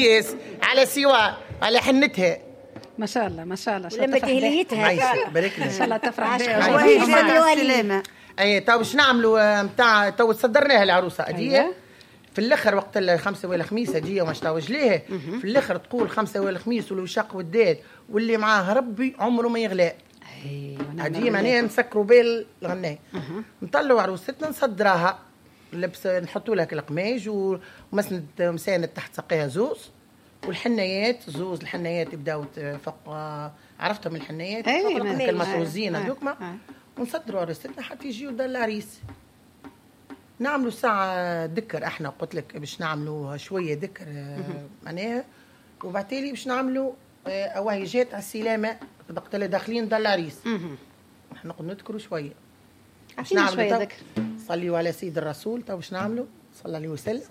العريس على سوا على حنتها. ما شاء الله ما شاء الله. ولما تهليتها عايشك بارك ان شاء الله تفرح بها. السلامة. اي تو باش نعملوا نتاع تو صدرناها العروسة هذه في الاخر وقت الخمسة ولا خميسه دي وما شتاوج ليه في الاخر تقول خمسة ولا خميس والوشاق والداد واللي معاه ربي عمره ما يغلى. هذه معناها نسكروا بال الغناية. نطلعوا عروستنا نصدراها لبس، نحطوا لها القماش ومسند مساند تحت ساقيها زوز، والحنايات زوز الحنايات يبداو فوق، عرفتهم الحنايات المطروزين هذوك، ونصدروا عروستنا حتى يجيو دار العريس. نعملوا ساعة ذكر، احنا قلت لك باش نعملوا شوية ذكر معناها، وبعتالي باش نعملوا أوهيجات على السلامة وقت اللي داخلين دار العريس. احنا نقعد نذكروا شوية. باش نعملوا شوية ذكر. صليوا على سيد الرسول. تو باش نعملوا صلى الله عليه وسلم.